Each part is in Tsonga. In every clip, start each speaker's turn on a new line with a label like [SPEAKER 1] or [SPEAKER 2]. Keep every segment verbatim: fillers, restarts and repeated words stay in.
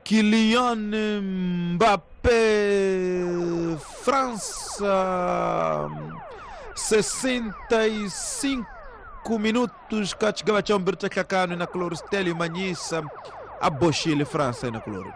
[SPEAKER 1] Kylian Mbappé, França, sessenta e cinco minutos, katika chambir cha kanu na Cloristelio Manyisa aboshile França na Cloro.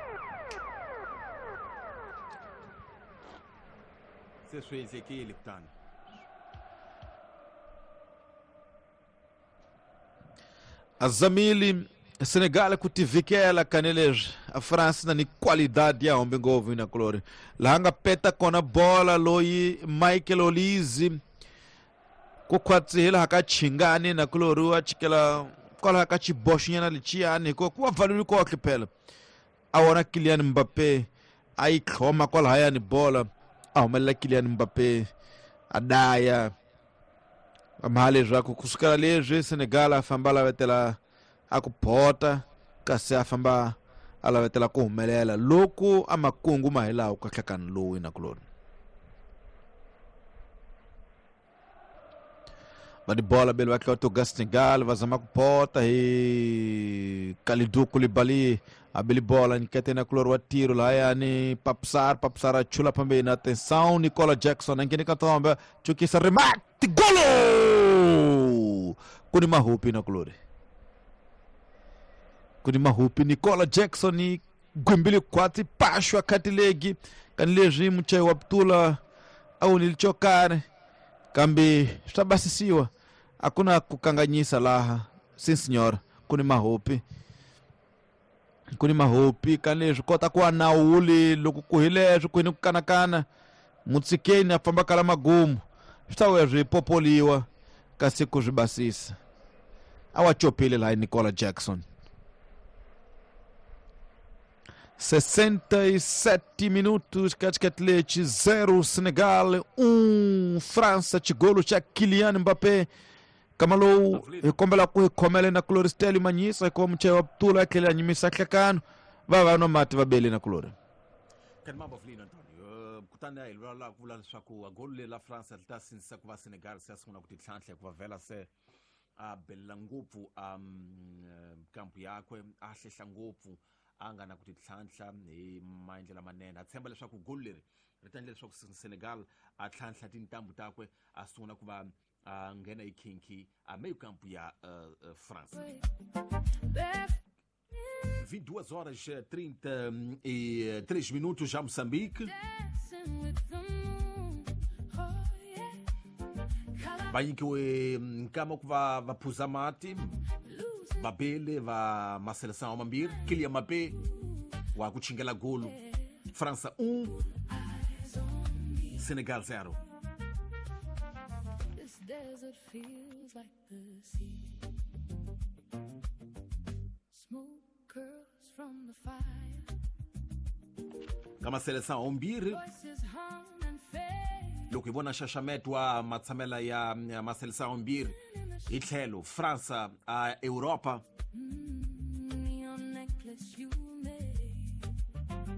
[SPEAKER 1] Azamili Senegal kutivikela kanelej a França na ni qualidade ya homem ngovu na Cloro. Lahanga peta kona bola loyi Michael Olise kukhwatsihela hakachingani na Cloro achikela kwala hakachiboshinyana lichiani ko kuwa valulu kohle phela. Awona Kylian Mbappé ayihloma kwala hayani bola ahumela Kylian Mbappé adaya amhale zvako kusukela lezwi Senegal afamba lavetela akupota kasi afamba alavetela kuhumelela loku amakungu mahilawo kahlakani lowu na Cloro. Badi bola bele bakhe to Senegal vazama kupota hi Kalidou Koulibaly abeli bola nikete na Cloro wa tiro la yani Papsar Papsar achula pambeni atenção Nicola Jackson angene katomba chukisa remate golo kuni mahupi na Cloro kuni mahupi Nicola Jackson gumbili kwati pashwa katilegi kanilezi mche wa ptula au nilichokare kambi stabasisiwa hakuna kukanganyisa laha sim senhor kuni mahupi kuni mahupi kanilezi kota kwa nauli lokukuhilezwi kwini kukanakana mutsikeni afamba kala magumu switawezwi popoliwa kasi kuzvibasisa awachopile la Nicola Jackson. Sessenta e sete minutos, katika zero Senegal, um França, chigolo cha Kylian Mbappé. Kamalo ikombela ku ikhomele na Cloristelio Manyisa ko mchewa ptula kile anyimisa hlakano va no mati vabele na Clore.
[SPEAKER 2] Kan mambo flino Antonio kutana ilwala kula leswaku golo le la France lita sinisa ku va Senegal se sungula ku titlhantlha ku va vela se a bela ngopfu um kampu yakwe a hlehla ngopfu a nga na ku titlhantlha hi maendlelo manene a tshemba leswaku golo leri ri ta endla leswaku Senegal a tlhantlha tintambu takwe a sungula ku va a nghena hi khinki a meio campo ya uh, uh, France. vinte e duas horas e trinta e três minutos já Moçambique. Vai que nkama ku va va phuza mati babele va maseleção mambir Kylian Mbappé wa kuchingela golo França um Senegal zero.
[SPEAKER 3] Desert feels like the sea. Smoke curls from the fire.
[SPEAKER 2] Kama seleção ombiri loko hi vona nxaxameto wa matshamela ya maseleção ombiri hi tlhelo França a Europa.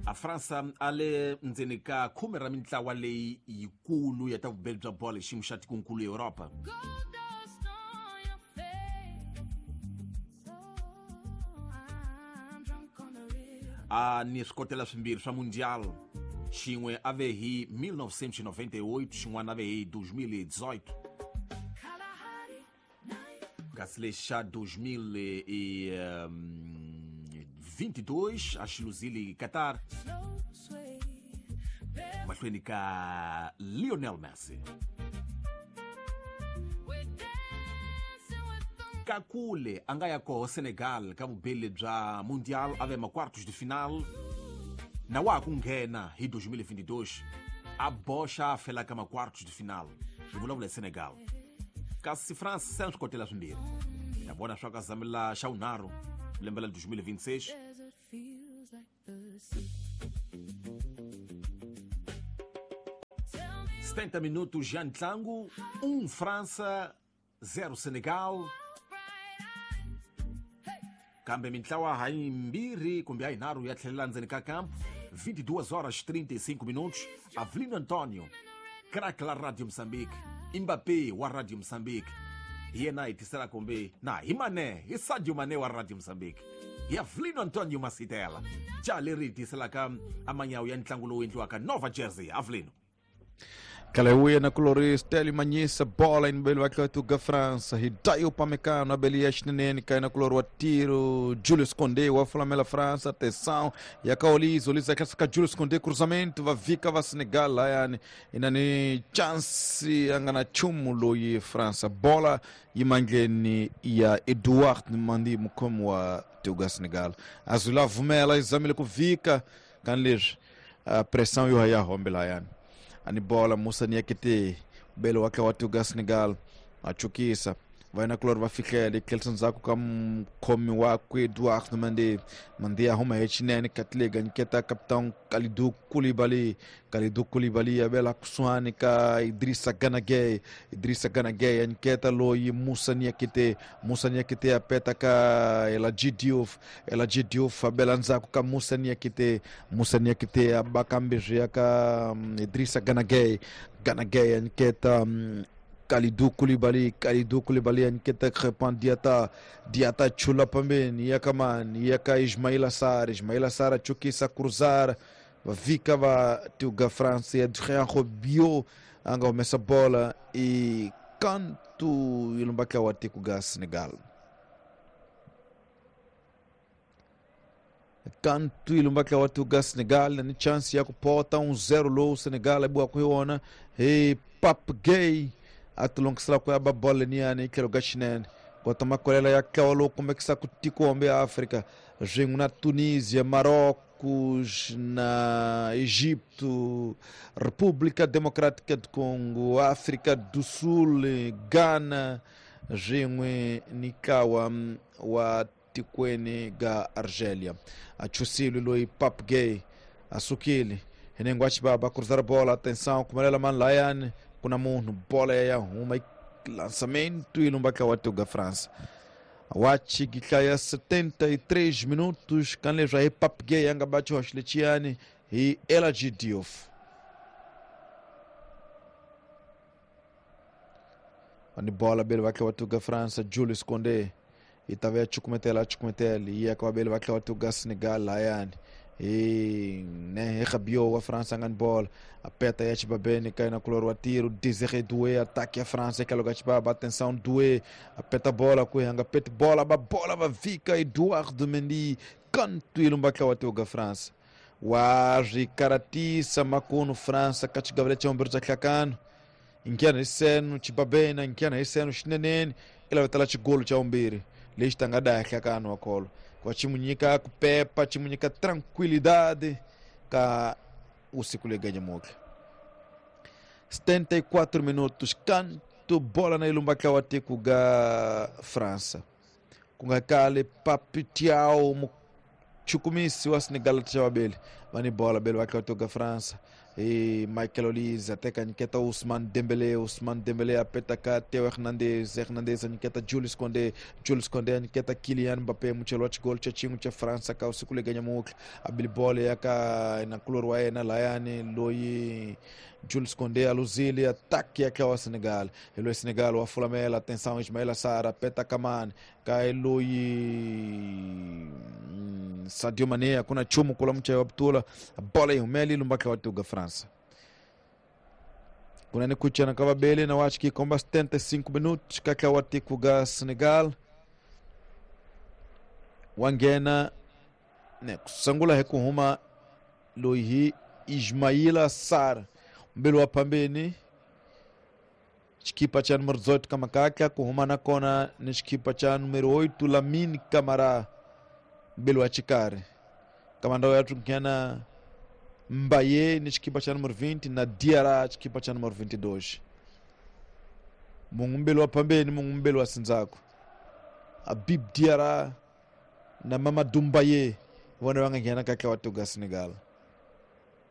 [SPEAKER 2] A França a le ndzeni ka khume ra mintlawa leyi yikulu ya ta vubeli bya bolo hi xiyimo xa tikonkulu Europa. A ni swikotela swimbirhi swa Mundial, xin'we a ve hi mil novecentos e noventa e oito, xin'wana a ve hi dois mil e dezoito. Kasi lexi xa dois mil e vinte e dois, a xiluzile Qatar, mahlweni ka Lionel Messi. Kakule a nga ya koho Senegal ka vubeli bya Mundial a ve ma quartos de final na wa ku nghena hi dois mil e vinte e dois a boxa a fela ka ma quartos de final hi vulavula hi Senegal. Kasi France se swi kotela swimbirhi na vona swa ka zamela xa vunharhu lembe la dois mil e vinte e seis. setenta minutos já ntlangu, um França, zero Senegal. Kambe mintlawa hayimbirhi kumbe hayinharhu ya tlhelela ndzeni ka campo. vinte e duas horas e trinta e cinco minutos. Avelino Antonio, craque la Radio Moçambique, Mbappé wa Radio Moçambique. Hi yena hi tisela kumbe na hi Mané, hi Sadio Mané wa Radio Moçambique. Ya Vlano Antonio Masitela ja leri tiselaka amanyawu ya ntlangu lowu endliwaka Nova Jersey Avlino.
[SPEAKER 1] Kaleuia na colori Stélio Manhissa, bola em belo Atletico França, Hidayo Pamecano, Abelia Chinene, cai na color o tiro, Julius Condé, o Flamela França, atenção, e a Kaoliz, Olisa Kasuka, Julius Condé, cruzamento, va Vika, va Senegal, lá, e nani chance, angana chumulo e França, bola, e mangeni, e a Eduardo Mandi, como a Teuga Senegal. Azula Vumela, exame com Vika, canler, a pressão e o Raya Rombelaiane. Ani bola Musa Niakite belo wake watu ga Senegal achukisa vai na clor vai ficar ali Kelson Zako kam komi wakwe Eduardo Mandi Mandi arruma rechinene katlega nketa capitão Kalidou Koulibaly Kalidou Koulibaly abela kusuani ka Idrissa Gana Gueye Idrissa Gana Gueye nketa loi Musa Niakite Musa Niakite apeta ka Eladji Diouf Eladji Diouf abela nzako ka Musa Niakite Musa Niakite abakambeje ka Idrissa Gana Gueye Gana Gueye nketa um, Kalidou Koulibaly, Kalidou Koulibaly anketa Crépin Diata, Diata chula pambeni, yakaman, yaka Ismaila Sarr, Ismaila Sarr chukisa cruzar, Vika va tuga França, Adrien Rabiot anga omessa bola e canto ilumbaka wati kuga Senegal. Canto ilumbaka wati kuga Senegal, ni chance ya kupota um zero low Senegal boa kuiona, e Pape Gueye atulongisela ku ya ba bola niani tlhelo ka xinene kota makolela ya tlolo kumbe kisa ku tikombe ya África swin'we na Tunisia, Marrocos, na Egito, República Democrática do Congo, África do Sul, Ghana swin'we ni kawa wa tikweni ga Argélia. Achusile loyi Pape Gueye asukile hinengo achibaba cruzar bola, atenção kumelela man layani kuna munhu bola ya huma lançamento e lumbaka watuga França. Wachi giklaya setenta e três minutos kanle já e Pape Gueye anga bate Rocheletiane e Eladji Diouf. Ani bola bele vai watuga França, Julius Condé e tava chukumetela chukumetela e a bele vai watuga Senegal layani. E né, Rabiot a França ganha bola, aperta e Babene cai na color o tiro, Désiré Doué ataque a França, que lugar Baba, atenção Doué, aperta a bola, correndo, aperta bola, a bola vai fica Eduardo Mendy, canto e lumba que o França. Waji Karatissa Makuno França, Kati Gabriel Chamberlain Klakano, inkiana iseno Chibabena, inkiana iseno Shinenen, ela vai estar golo Chaumbiri, lista ngada Klakano akolo. Kwa chimunyika kupepa chimunyika tranquilidade ka usiku leganha moka. setenta e quatro minutos canto bola na ilumba kawati kuga França. Kunga kale Pape Thiaw chukumisi wa Senegal tshawabele. Vani bola bele wakati ga França. E Michael Olise até que Ousmane Dembélé, Ousmane Dembélé apeta ka Theo Hernandez, Hernandez aniketa Julius Condé, Julius Condé aniketa Kylian Mbappé, mucheloch gol chachingu cha França ka usiku leganya mukla abili bola yaka na kulor na layane loyi Julius Condé aluzili ataque ya wa Senegal, elo Senegal wa Flamela, atenção Ismaila Sarr apeta Kaman ka eloyi Sadio Mané kuna chumu kula mcha wa Abdullah bola yumeli lumbaka watuga França. Kuna ni kucha na kavabele na wachi kikomba setenta e cinco minutos kaka watikuga Senegal wangena ne kusangula hekuhuma loyi Ismaila Sarr mbele wa pambeni chikipa cha número dezoito Kamakaka kuhuma na kona ni chikipa cha número oito Lamine Camara mbele wa chikari kamanda yatu nkena Mbaye ni chikipa cha número vinte na Diarra chikipa cha número vinte e dois. Mungumbelo wa pambeni mungumbelo wa sinzako Habib Diarra na Mamadou Mbaye wana wanga nkena kaka watuga Senegal.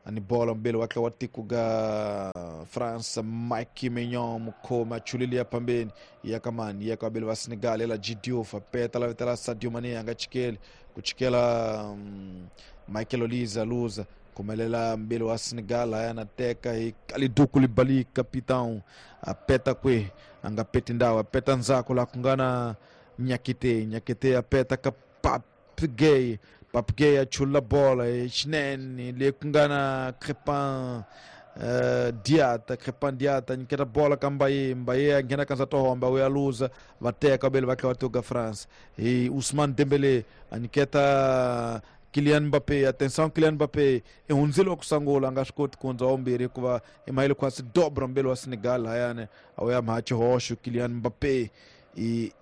[SPEAKER 1] Ani bola mbele wake watikuga França Mike Maignan mukoma chulilia pambeni yakamani yakabele wa Senegal ela Diouf apeta la vetela Sadio Mané anga chikele kuchikela um, Michael Olise luza kumelela mbele wa Senegal anateka Kalidou Koulibaly capitão apeta kwe anga peti ndawa apeta nzako la kungana Nyakite Nyakite apeta kapap Pape Gueye. Pape Gueye a chula bola xinene leyi ku nga na Crepin Uh, Diata, Crepin Diata nyiketa bola ka Mbaye, Mbaye a nghena ka Ndzatohomba u ya luza va teka vele va tlhela va tuka France hi Ousmane Dembélé a nyiketa Kylian Mbappé. Atenção, Kylian Mbappé i hundzile wa ku sungula a nga swi koti ku hundza wa vumbirhi hikuva i mahele khwatsi dobra mbele wa Senegal layani a wu ya mha xihoxo Kylian Mbappé i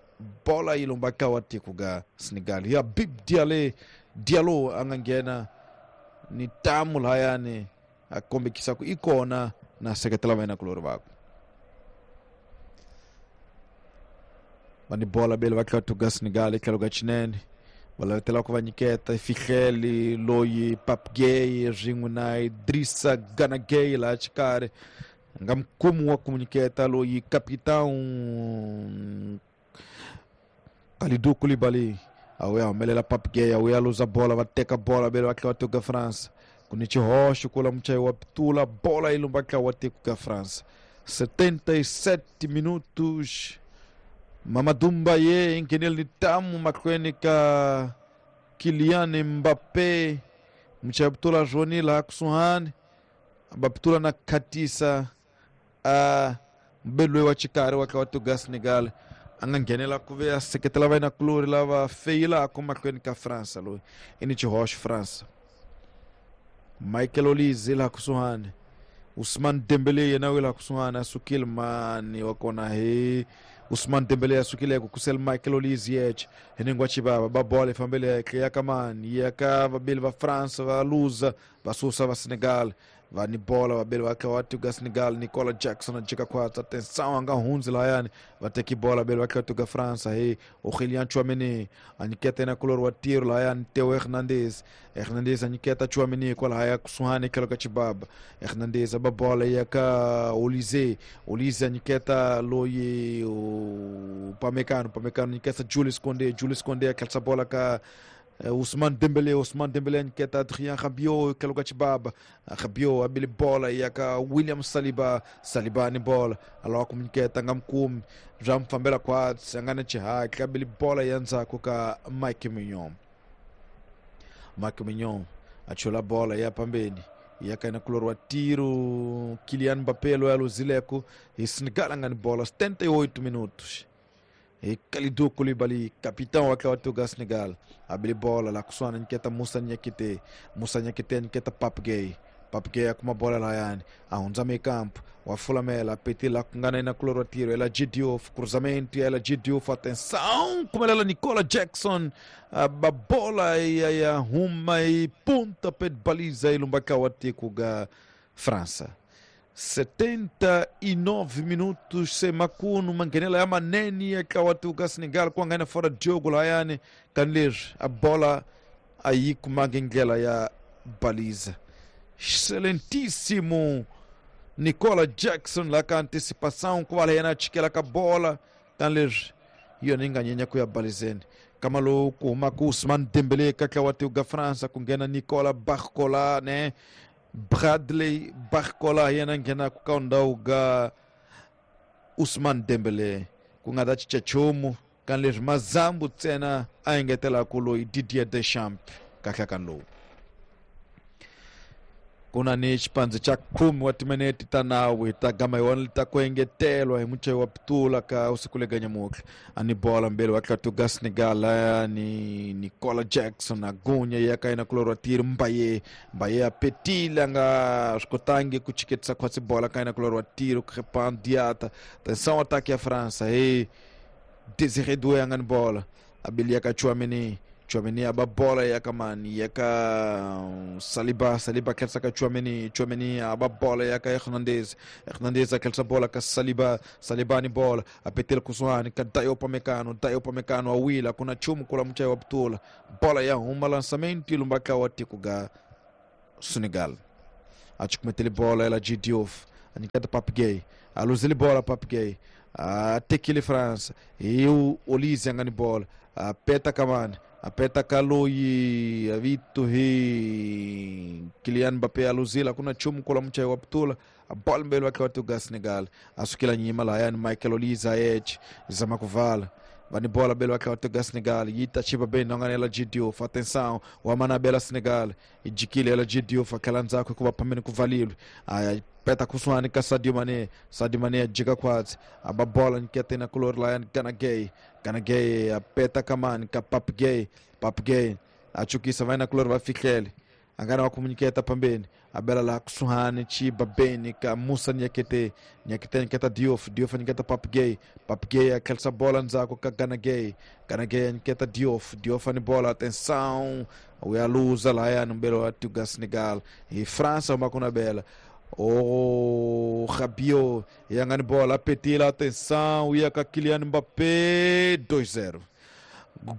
[SPEAKER 1] bola yi lomba ka wa tiko ga Senegal ya Bib Diallo Diallo a nga nghena ni tamu layani a kombekisa ku i kona na seketela va yena kulori vakwe va ni bola bele va tlhela tuga Senegal etlhelo ka xinene va lavetela ku va nyiketa fihleli loyi Pape Gueye swin'we na Idrissa Gana Gueye laha xikarhi nga mukumi wa ku nyiketa loyi capitão Kalidou Koulibaly a wu ya humelela Pape Gueye a wu ya luza bola va teka bola bele va tlhela tuga France ku ni xihoxo kula muchayi wa pitula bola yi lumba ntlawa wa tiko ka France. Setenta e sete minutos Mamadou Mbaye i nghenele ni tamu mahlweni ka Kylian Mbappé muchayi wa pitula Joni laha kusuhani va pitula na khatisa a mbele loyi wa xikarhi wa ntlawa wa tiko ka Senegal a nga nghenela ku ve a seketela va yena lava feyilaka mahlweni ka France loyi i ni xihoxo France. Michael Olise laha kusuhani Ousmane Dembélé yena wi laha kusuhani a sukile mani wa kona hi Ousmane Dembélé a sukile ku kusela Michael Olise yexe hi ningwa xivava ba bola yi fambele henhla ya ka mani ya ka vabeli va France va luza va susa va Senegal va ni bola vabeli va tlhela va tuka Senegal Nicolas Jackson a jika khwatsa atenção a nga hundzi lahayani va teki bola vabeli va tlhela tuka France hi Aurélien Tchouaméni a nyiketa yena kulori wa tiro lahayani Theo Hernandez Hernandez a nyiketa Tchouaméni kwalahaya kusuhani etlhelo ka xibaba Hernandez a ba bola ya ka Olise Olise a nyiketa loyi Upamecano Upamecano nyiketa Jules Koundé Jules Koundé a tlherisa bola ka Ousmane Dembélé Ousmane Dembélé nyiketa Adrien Rabiot etlhelo ka xibaba Rabiot a bile bola ya ka William Saliba Saliba ni bola a lava ku nyiketa nga mukumi bya mu fambela khwatsi a nga na xihatla a bile bola ya ndzhaku ka Mike Mignon Mike Mignon a chula bola ya pambeni ya ka yena kulori wa tiro Kylian Mbappé loyi a luzileko hi Senegal a nga ni bola setenta e oito minutos e Kalidou Koulibaly capitão wa ntlawa wa tiko ka Senegal a bile bola laha kusuhani nyiketa Moussa Niakhaté Moussa Niakhaté nyiketa Pape Gueye Pape Gueye a kuma bola lahayani a hundza meio-campo wa fulamela a petile laha ku nga na yena kulori wa tiro Ela Diouf cruzamento ya Ela Diouf atenção kumelela Nicolas Jackson a ba bola ya ya huma yi ponta pé de baliza yi lumba ntlawa wa tiko ga França. Setenta e nove minutos se makunu manghenela ya manene ya ntlawa wa tiko ka Senegal ku nga na fora jogo lahayani kanileswi a bola a yi kumangi ndlela ya baliza. Excelentíssimo Nicolas Jackson la ka antecipação ku va yena a chikela ka bola kanileswi hi yona yi nga nyenya ku ya balizeni kama lowu ku humaka Ousmane Dembélé ka ntlawa wa tiko ka France ku nghena Nicolas Barcola ne Bradley Barcola hi yena nghenaka ka ndhawu ga Ousmane Dembélé ku nga ta cinca nchumu kanileswi mazambu ntsena a engetelaka loyi Didier Deschamps kahle ka lowu ku na ni xipandzi xa khume wa timinete ta nawu hi ta gama hi wona ta ku engetelwa hi muchayi wa pitula ka usiku le ganyamutlha a ni bola mbele wa tlhela Senegal laya ni Nicolas Jackson a gunya ya ka yena kulori wa tiri Mbaye Mbaye a petile a nga swi kotangi ku chiketisa khwatsi bola ka yena kulori wa tiri Crepin Diata atenção ataque ya France hi Désiré Doué a nga ni bola a bili ya ka Tchouaméni Tchouaméni a ba bola ya ka mani ya ka Saliba Saliba tlherisa ka Tchouaméni Tchouaméni a ba bola ya ka Hernandez Hernandez a tlherisa bola ka Saliba Saliba ni bola a petela kusuhani ka Dayo Upamecano Dayo Upamecano a wila ku na nchumu kula muchayi wa pitula bola ya huma lançamento yi lumba ntlawa wa tiko ga Senegal a cukumetele bola ela G Diouf a nyiketa Pape Gueye a luzile bola Pape Gueye a tekile France e o Olise a nga ni bola a peta kamani apeta kaloyi vitu hi Kylian Mbappé aluzila kuna chumu kula muchayi wa pitula a bola mbele wa ntlawa wa tiko ga Senegal a sukela nyima lahayani Michael Olise a yexe zama ku vala Va ni bola belo va tega Senegal yi ta chipa bem nonganela G Diouf. Atenção, o Amanabela Senegal yi jikile ela G Diouf akhala ndzhaku hikuva phambeni ku valile. A peta kusuhani ka Sadio Mané. Sadio Mané jika khwatsi a ba bola nyiketa na kulori laya Gana Gueye. Gana Gueye a peta kamani ka Pape Gueye. Pape Gueye a chukisa vai na kulori va fihlele a nga na wa kumunyiketa phambeni a bela laha kusuhani chiba beni ka Musa Niakate. Niakate nyiketa Diouf. Diouf nyiketa Pape Gueye. Pape Gueye a tlherisa bola ndzhaku ka Gana Gueye. Gana Gueye nyiketa Diouf. Diouf ani bola, atenção, u ya luza lahayani mbelo wa Tuga Senegal. Hi França humaka na bela. Oh, Rabiot, ya nga ni bola, petila, atenção, u ya ka Kylian Mbappé, dois zero.